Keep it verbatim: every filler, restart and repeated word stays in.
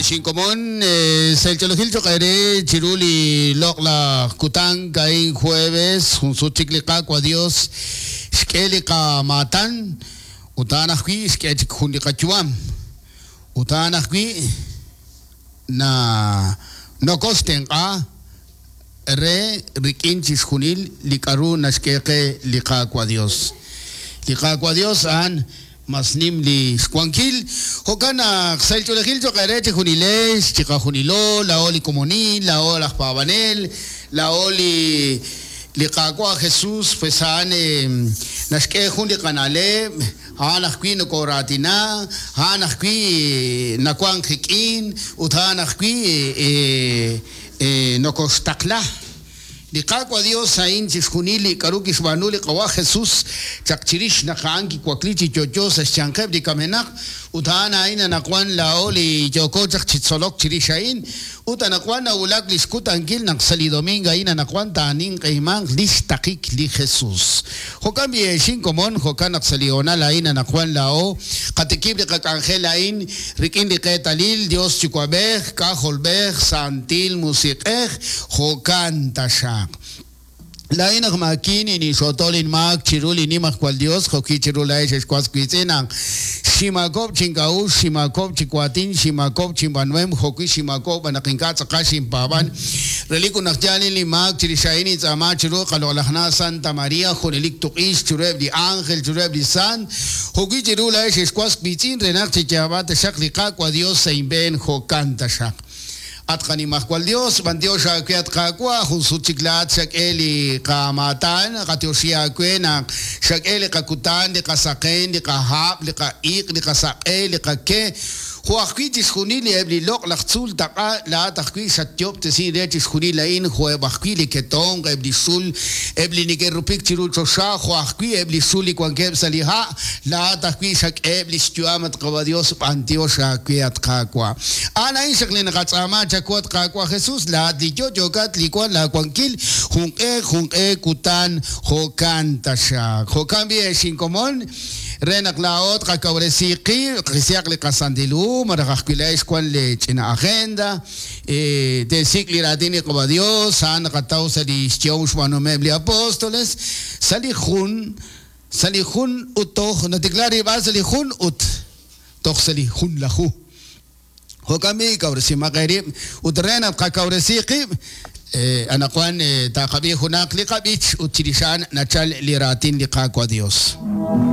Xinkomon sa' el choq ere chiru li loq'laj kutan a'in jueves jun sut chik li Qaawa' Dios xk'e li qamaatan ut a'an ajwi' xk'e chik jun li qayu'am ut a'an ajwi' na nokoxtenq'a re rik'in chixjunil li k'aru naxk'e qe li Qaawa' Dios. Li Qaawa' Dios a'an mas nim li xwankil jo'kan naq sa' xch'oolejil choq ere chijunilex chiqajunilo laa'o li komonil laa'o laj paab'anel laa'o li li Qaawa' Jesús pues a'an naxk'e jun li qana'leb' a'an ajwi' nokoraatina a'an ajwi' nawan qik'in ut a'an ajwi' nokoxtaqla. Li Qaawa' Dios a'in chixjunil li k'aru kixb'aanu li Qawa' Jesús chaq chirix naq a'an kiwakli chi yo'yo sa' xyanqeb' li kamenaq ut a'an a'in anaqwan laa'o li yooko chaq chi tzolok chirix a'in ut anaqwan nawulak li xkutankil naq sa' li domingo a'in anaqwan taaninq'ehimanq li xtaqik li Jesús. Jo'kan b'i xinkomon jo'kan naq sa' li honal a'in anaqwan laa'o qatikib' li qak'anjel a'in rik'in li qeetalil Dios Yuwa'b'ej K'ajolb'ej Santil Musiq'ej jo'kan taxaq. Laa'in aj maakin inixotol inmaak chiru li nimajwal Dios jo'ki chiru laa'ex exwas wiitz'in naq ximakob' chink'a'uxl ximakob' chiwaatin ximakob' chinb'anuem jo'wi ximakob' naq ink'a' tz'aqal xinpaab'an relik ut naq yaal li maak chirix a'in intz'aama chiru qaloq'laj na Santa María junelik tuq'ix chiruheb' li ángel chiruheb' li sant jo'wi chiru laa'ex exwas wiitz'in re naq chiyaab'a taxaq li Qaawa' Dios sa' inb'een jo'kan taxaq. At qanimajwal Dios, b'antiox aawe at Qaawa', jun sut chik laat xak'e li qamaatan, qatioxi aawe naq xak'e li qakutan, li qasaqen, li qahab', li qa'iq', li qasaq'e, li qake. Jo' ajwi' chixjunil li eb' li loq'laj tzuul taq'a laat ajwi' xatyob'tesin re chixjunil a'in jo'eb' ajwi' li ketonq, eb' li xul, eb' li neke'rupik chiru choxa, jo' ajwi' eb' li xul li wankeb' sa' li ha', laat ajwi' xak'eheb' li xyu'am at Qawa' Dios, b'antiox aawe at Qaawa'. A'an a'in xaq li naqatz'aama chawu at Qaawa' Jesús, laat li yo'yokat li wan laawankil, junq'e junq'e kutan jo'kan taxaq. Jo'kan b'i xinkomon re naq laa'o tqakawresi qib', qisihaq li qasantil hu, malaj ajwi' laa'ex wan li ch'ina agenda, teesik' li raatin li Qawa' Dios, a'an naqataw sa' li xyehom xb'aanuhomeb' li apóstoles, sa' li jun, sa' li jun ut toj natikla rilb'al sa' li jun ut toj sa' li jun laju. Jo'kan b'i kawresimaq eerib' ut re naq qakawresi qib' anaqwan taqab'i junaq li qab'ich ut chirix a'an nachal li raatin li Qaawa' Dios.